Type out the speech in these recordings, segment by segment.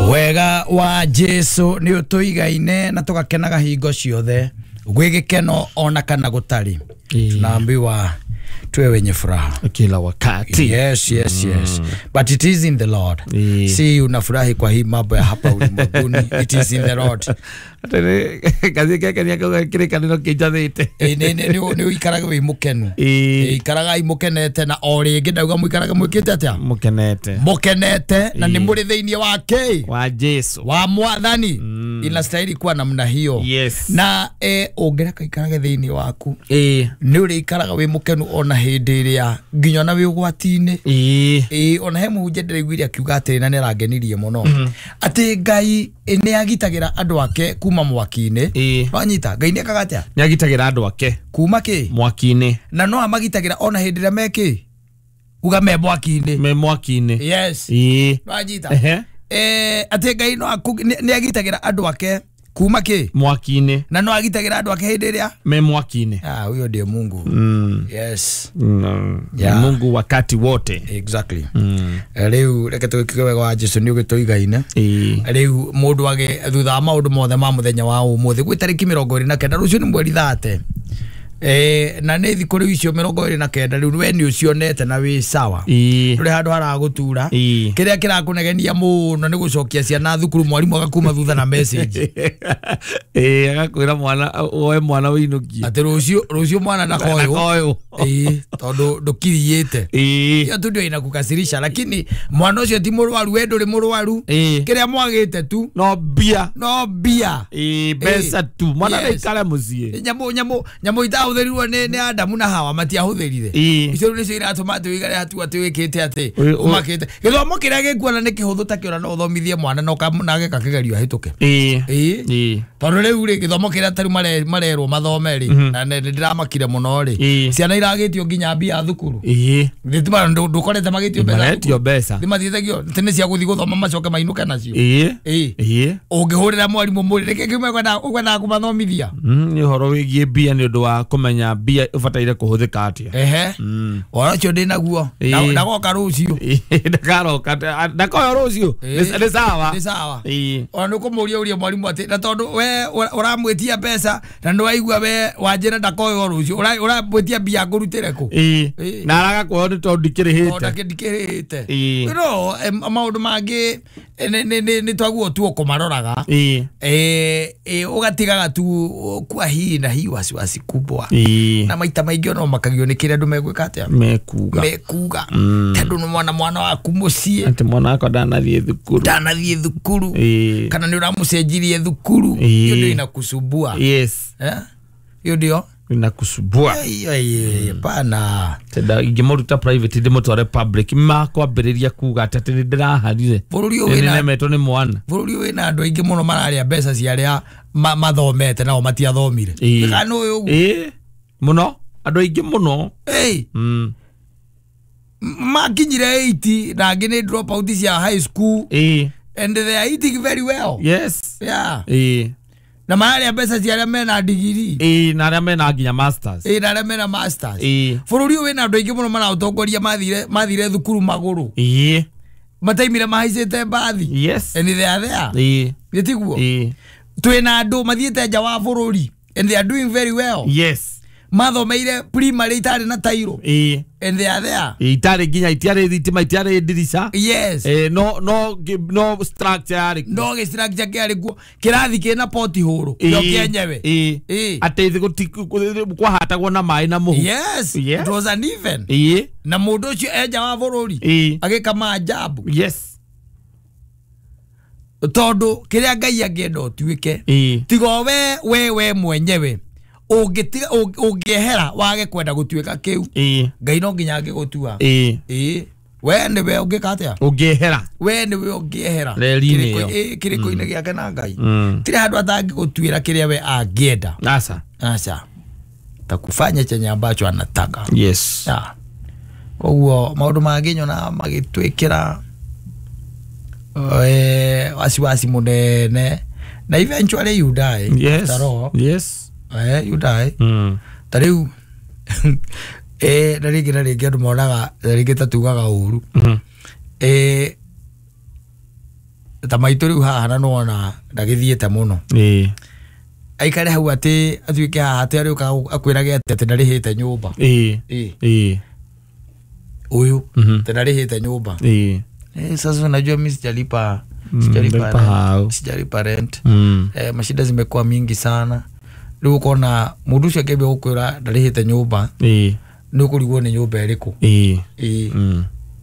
Wega wa Jesu ni utuigaine na tugakenaga hingo ciothe gwĩ gĩkeno ona kana gũtarĩ. Tunaambiwa tuwe wenye furaha kila wakati. Yes, yes, yes. But it is in the Lord. Si unafurahi kwa hii mambo ya hapa ulimwenguni. It is in the Lord. Kazi keke ni akauga kĩrĩkanĩro kĩnjathĩte. Nĩ ũikaraga wĩ mũkenu. Ikaragai mũkenete na o rĩngĩ ndauga mũikarage mwĩkĩte atĩa? Mũkenete. Mũkenete na nĩ mũrĩ thĩinĩ wa kĩ? Wa Jesu. Wa Mwathani. Inastahili kuwa namna hiyo. Yes. Na ũngĩreka ikarage thĩinĩ waku. Nĩ ũrĩikaraga wĩ mũkenu ona hĩndĩ ĩrĩa nginya ona wĩ ũgwati-inĩ. Ona he mũhunjia ndĩraiguire akiuga atĩrĩ na nĩ arangenirie mũno. Atĩ Ngai nĩ agitagĩra andũ ake kuma mwaki-inĩ. Wanyita Ngai nĩ ekaga atĩa? Nĩ agitagĩra andũ ake kuma kĩ? Mwaki-inĩ. Na no amagitagĩra ona hĩndĩ ĩrĩa me kĩ? Uga me mwaki-inĩ. Me mwaki-inĩ. Yes. Wanyita. Atĩ Ngai no nĩ agitagĩra andũ ake kuma kĩ? Mwaki-inĩ. Na no agitagĩra andũ ake hĩndĩ ĩrĩa me mwaki-inĩ. Ah, huyo ndiye Mungu. Yes. Yeah. Mungu wakati wote. Exactly. Rĩu reke tũgĩkiuge wega wa Jesu nĩ ũgĩtũigaine. Rĩu mũndũ age thutha wa maũndũ mothe ma mũthenya wa ũmũthĩ gwĩ tarĩki 29 rũciũ nĩ mweri 30. Na nĩ thikũ rĩu icio 29 rĩu we nĩ ũcionete na wĩ sawa. Ndũrĩ handũ haragũtura. Kĩrĩa kĩrakũnegenia mũno nĩ gũcokia ciana thukuru mwarimũ agakuma thutha na message. Agakwĩra mwana woe mwana wĩinũkie. Atĩ rũciũ mwana ndakoywo. Tondũ ndũkiriĩte. Hiyo tu ndio inakukasirisha, lakini mwana ũcio ti mũrwaru, we ndũrĩ mũrwaru. Kĩrĩa mwagĩte tu no mbia. No mbia. Mbeca tu. Mwana ndaikare mũciĩ. Nyamũ itahũthĩrirwo nĩ Adamu na Hawa matiahũthĩrire. Icio rĩu nĩcio iratũma atĩ ũikare hatu atĩ wĩkĩte atĩ ũmakĩte. Gĩthomo kĩrĩa gĩkuona nĩ kĩhũthũ ta kĩona no ũthomithie mwana na ageka kĩgerio ahĩtũke. Tondũ rĩu rĩ gĩthomo kĩrĩa ta rĩu marerwo mathome rĩ na nĩ ndĩramakire mũno rĩ ciana iragĩtio nginya mbia thukuru. Ndũkorete magĩtio mbeca. Maretio mbeca. Nĩmathiĩtagio atĩ nĩ cia gũthiĩ gũthoma macoke mainũke nacio. Ũngĩhũrĩra mwarimũ mũrĩ nĩkĩ ũkwendaga kũmathomithia? Nĩ ũhoro wĩgiĩ mbia nĩ ũndũ wa kũmenya mbia ũbataire kũhũthĩka atĩa. Ũhoro ũcio ndĩ naguo. Ndagoka rũciũ. Ndakaroka. Ndakoyo rũciũ. Nĩ sawa. Nĩ sawa. Ona nĩ ũkũmũria ũrie mwarimũ atĩ na tondũ we ũramwĩtia mbeca na nĩ waigua we wanjĩra ndakoywo rũciũ ũramwĩtia mbia ngũrutĩre kũ? Na araga kuoywo nĩ tondũ ndikĩrĩhĩte. Ndikĩrĩhĩte. No maũndũ mangĩ nĩ twaguo tu ũkũmaroraga. Ũgatigaga tu kwa hii na hii wasiwasi kubwa. Na maita maingĩ ona ũmakagio nĩ kĩrĩa andũ megwĩka atĩa? Mekuga. Mekuga. Tondũ nĩ mwana waku mũciĩ. Atĩ mwana wakwa ndanathiĩ thukuru. Ndanathiĩ thukuru. Kana nĩ ũramũcenjirie thukuru. Hiyo ndio inakusumbua. Yes. Hiyo ndio inakusumbua. Pana. Tenda ingĩmũruta private ndĩmũtware public makwambĩrĩria kuga atĩ nĩ ndĩraharire. Bũrũri ũyũ wĩna nĩnemetwo nĩ mwana. Bũrũri ũyũ wĩna andũ aingĩ mũno mararĩa mbeca cia arĩa mathomete nao matiathomire. Kana ũyũ ũguo. Mũno andũ aingĩ mũno. Makinyire 80 na angĩ nĩ drop out cia high school. And they are eating very well. Yes. Yeah. Na mararĩa mbeca cia arĩa mena digiri. Na arĩa mena nginya masters. Na arĩa mena masters. Bũrũri ũyũ wĩna andũ aingĩ mũno maraũtongoria mathire thukuru magũrũ. Mataimire mahaicĩte mbathi. Yes. And they are there. Nĩ tiguo? Twĩna andũ mathiĩte nja wa bũrũri and they are doing very well. Yes. Mathomeire primary itarĩ na tairo. And they are there. Itarĩ nginya itiarĩ thitima itiarĩ ndirica. Yes. No no no structure yarĩ. No structure kĩarĩ kuo. Kĩrathi kĩna poti hũrũ. Kĩo kĩenyewe. Atĩ kwahatagwo na maĩ na mũhu. Yes. It was uneven. Na mũndũ ũcio enja wa bũrũri agĩka maajabu. Yes. Tondũ kĩrĩa Ngai angĩenda ũtuĩke tiga we mwenyewe ũngĩtiga ũngĩehera wage kwenda gũtuĩka kĩu Ngai no nginya angĩgũtua. We nĩwe ũngĩka atĩa? Ũngĩehera. We nĩwe ũngĩehera kĩrĩko-inĩ gĩake na Ngai. Tirĩ handũ atangĩgũtuĩra kĩrĩa we angĩenda. Aca. Aca. Takufanya chenye ambacho anataka. Yes. Koguo maũndũ mangĩ nyona magĩtwĩkĩra wasiwasi mũnene na eventually you die. Yes. Yes. You die. Ta rĩu na rĩngĩ na rĩngĩ andũ monaga rĩngĩ ta tugaga ũru. Ta maitũ rĩu haha na nĩwona ndagĩthiĩte mũno. Aikare hau atĩ atuĩke haha atĩ arĩũka akwĩrage atĩ atĩ ndarĩhĩte nyũmba. Ũyũ atĩ ndarĩhĩte nyũmba. Sasa unajua mimi sijalipa sijalipa rent. Mashida zimekuwa mingi sana. Rĩu ũkona mũndũ ũcio akĩambia gũkwĩra ndarĩhĩte nyũmba. Nĩ ũkũrigwo nĩ nyũmba ĩrĩkũ.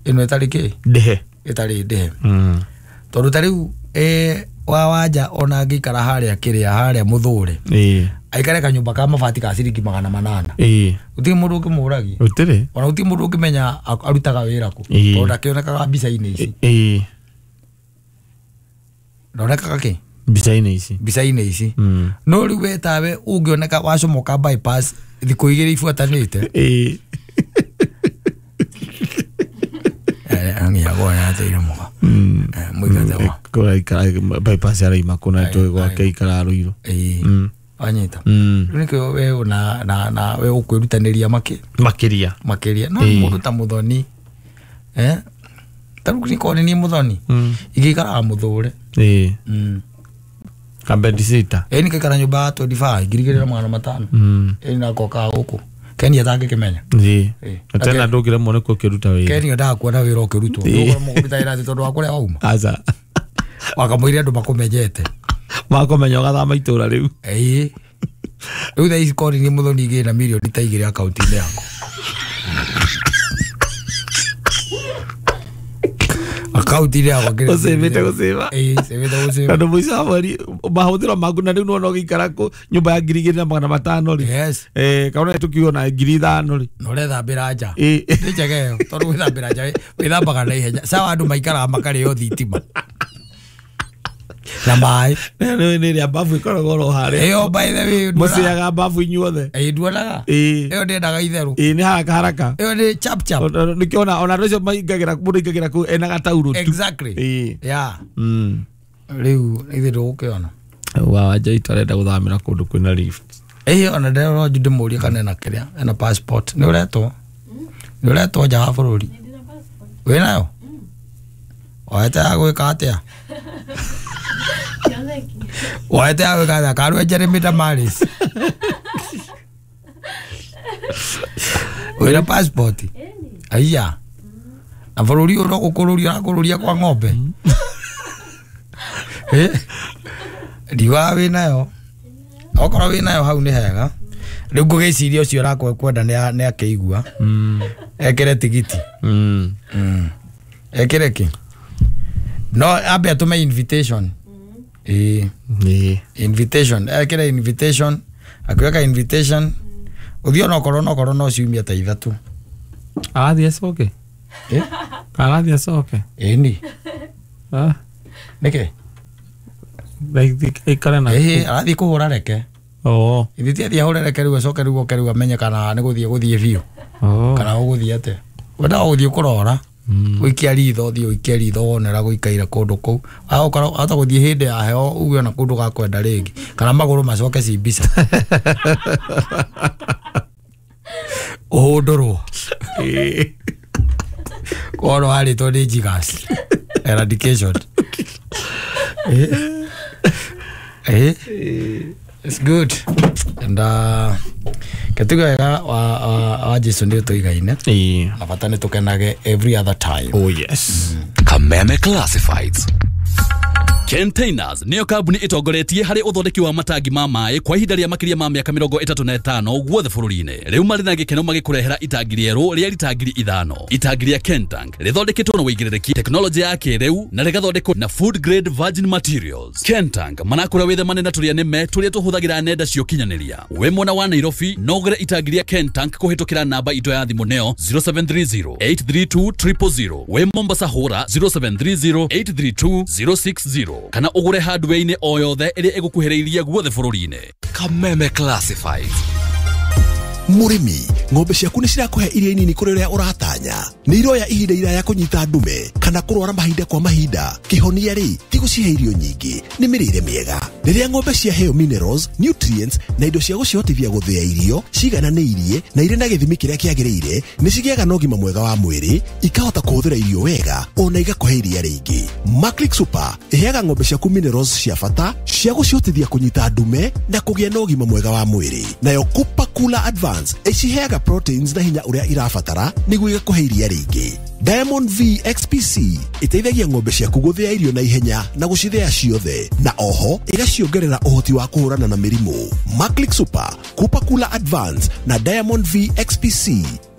Ĩno ĩtarĩ kĩ? Ndĩhe. Ĩtarĩ ndĩhe. Tondũ ta rĩu wa wanja ona angĩikara harĩa kĩrĩa harĩa mũthũre. Aikare kanyũmba ka mabati ka ciringi 800. Gũtirĩ mũndũ ũngĩmũragia. Gũtirĩ. Ona gũtirĩ mũndũ ũngĩmenya arutaga wĩra kũ. Tondũ ndakĩonekaga mbica-inĩ ici. Ndonekaga kĩ? Mbica-inĩ ici. Mbica-inĩ ici. No rĩu we tawe ũngĩoneka wacomoka bypass thikũ igĩrĩ ibuatanĩte. Bypass araima kũna njũĩ gwake ikara Ruiru. Wanyita. Rĩu nĩkĩo we na we ũkwĩrutanĩria makĩria. Makĩria. No mũndũ ta Mũthoni. Ta rĩu nĩkorwo nĩ niĩ Mũthoni. Ingĩikaraga mũthũre. Kabedisita. Nĩkaikara nyũmba ya 25 2,500. Nagoka gũkũ. Kenia atangĩkĩmenya. Tena ndũngĩremwo nĩ kũkĩruta wĩra. Kenia ndaga kuona wĩra ũkĩrutwo. Ndũkũremwo kũruta wĩra atĩ tondũ wa kũrĩa wauma. Aca. Wakamũire andũ makũmenyete. Makũmenya ũgathama itũra rĩu. Rĩu thaa ici korwo nĩ niĩ Mũthoni ingĩrĩ na mirioni ta 2 akaunti-inĩ yakwa. Akaunti-inĩ yakwa ngĩrĩ. Ũcĩbĩte gũcĩba. Cĩbĩte gũcĩba. Tondũ mũico wa mweri mahũthĩro maku na rĩu nĩwona ũgĩikara nyũmba ya 2,500 rĩ. Yes. Kana tũkiuga na 5,000 rĩ. Na ũrethambĩra nja. Nĩ njega ĩyo tondũ gwĩthambĩra nja wĩthambaga na ihenya. Sawa andũ maikaraga makarĩo thitima. Na maĩ. Nĩ ĩrĩa bafu ĩkoragwo oro harĩa. Ĩyo by the way mũcĩaga bafu inyuothe. Nduonaga. Ĩyo ndĩendaga itherũ. Nĩ haraka haraka. Ĩyo nĩ chap chap. Nĩkĩo ona andũ acio maingagĩra mũndũ aingagĩra kũu ena gataurũ tu. Exactly. Yeah. Rĩu ithuĩ ndũgũkĩona. Wa wanja itũ arenda gũthamĩra kũndũ kwĩna lift. Ona ndĩrona ndĩmũrie kana ena kĩrĩa ena passport. Nĩ ũretwo? Nĩ ũretwo nja wa bũrũri? Wĩnayo? Woete ya gwĩka atĩa? Woete ya gwĩka atĩa? Karue Jeremy Damaris. Wĩna passport? Aiya. Na bũrũri ũyũ no gũkũrũria ũrakũrũria kwa ng'ombe. Ndiugaga wĩnayo. Okorwo wĩnayo hau nĩ hega. Rĩu ngũgĩciria ũcio ũrakwenda nĩ akĩigua. Ekĩre tigiti. Ekĩre kĩ? No ambe atũme invitation. Invitation. Ekĩre invitation. Akĩweka invitation. Ũthiĩ onokorwo no ciumia ta 3. Arathiĩ acoke? Arathiĩ acoke? Ĩni. Nĩkĩ? Aikare na Arathiĩ kũhũra reke. Ithuĩ ti athiĩ ahũre reke rĩu acoke rĩu oke rĩu amenye kana nĩ gũthiĩ biũ. Kana ũgũthiĩ atĩa. Wendaga gũthiĩ kũrora. Ũikia ritho ũthiĩ ũikie ritho wone ũrĩa gũikaire kũndũ kũu. Wahota gũthiĩ hĩndĩ ya heho uge ona kũndũ gakwenda rĩngĩ. Kana magũrũ macoke ci mbica. Ũhũndũrwo. Korwo warĩtwo nĩ jiggers. Eradication. It's good. And ketuga wega wa Jesu nĩ tũigaine. Na bata nĩ tũkenage every other time. Oh yes. Kameme Classifieds. Containers niyo kambuni itongoretie harĩ ũthondeki wa matangi ma maĩ kwa ihinda rĩa makĩria ma mĩaka 35 guothe bũrũri-inĩ. Rĩu marĩ na gĩkeno magĩkũrehera itangi rĩerũ rĩa rita 5,000. Itangi rĩa Kentank rĩthondeketwo na wĩigĩrĩrĩki tekinoronjĩ ya kĩrĩu na rĩgathondekwo na food grade virgin materials. Kentank manakũra wĩthemane na tũrĩa nĩme tũrĩa tũhũthagĩra nenda cia ũkinyanĩria. Wĩ mwena wa Nairobi no ũgũre itangi rĩa Kentank kũhĩtũkĩra namba itũ ya thimũ nĩyo 0730 832 000. Wĩ Mombasa hũra 0730 832 060. Kana ũgũre hardware-inĩ o yothe ĩrĩa ĩgũkuhĩrĩirie guothe bũrũri-inĩ. Kameme Classifieds. Mũrĩmi, ng'ombe ciaku nĩ cirakũhe iria inini kũrĩ ũrĩa ũratanya. Nĩ iroya ihinda iraya kũnyita ndume kana kũrwara mahinda kwa mahinda. Kĩhonia rĩ, ti gũcihe irio nyingĩ, nĩ mĩrĩre mĩega. Rĩrĩa ng'ombe ciaheo minerals, nutrients na indo cia gũcihotithia gũthĩa irio cigananĩirie na irĩ na gĩthimi kĩrĩa kĩagĩrĩire, nĩ cigĩaga na ũgima mwega wa mwĩrĩ, ikahota kũhũthĩra irio wega ona igakũhe iria rĩingĩ. Maclick Super ĩheaga ng'ombe ciaku minerals cia bata cia gũcihotithia kũnyita ndume na kũgĩa na ũgima mwega wa mwĩrĩ. Nayo Cooper Cooler Advance ĩciheaga proteins na hinya ũrĩa irabatara nĩguo igakũhe iria rĩingĩ. Diamond V XPC ĩteithagia ng'ombe ciaku gũthĩa irio na ihenya na gũcithĩa ciothe, na oho ĩgaciongerera ũhoti wa kũhũrana na mĩrimũ. Maclick Super, Cooper Cooler Advance na Diamond V XPC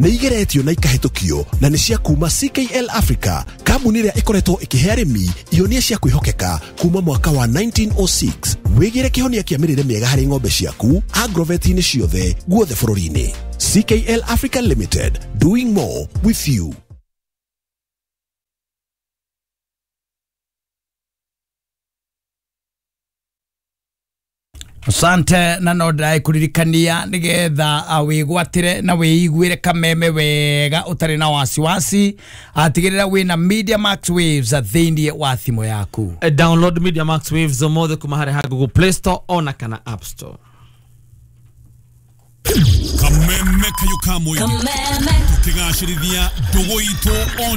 nĩ igeretio na ikahĩtũkio na nĩ cia kuma CKL Africa, kambuni ĩrĩa ĩkoretwo ĩkĩhe arĩmi ihonia cia kwĩhokeka kuma mwaka wa 1906. Wĩgĩre kĩhonia kĩa mĩrĩre mĩega harĩ ng'ombe ciaku agrovet-inĩ ciothe guothe bũrũri-inĩ. CKL Africa Limited, doing more with you. Asante na no ndĩrakuririkania nigetha wĩgwatĩre na wĩiguĩre kameme wega ũtarĩ na wasiwasi, atigĩrĩra wĩna Media Max Waves thĩinĩ wa thimũ yaku. Download Media Max Waves ũmũthĩ kuma harĩ ha Google Play Store ona kana App Store. Kameme kayo ka mũingĩ tukĩgacĩrithia ndũgũ itũ.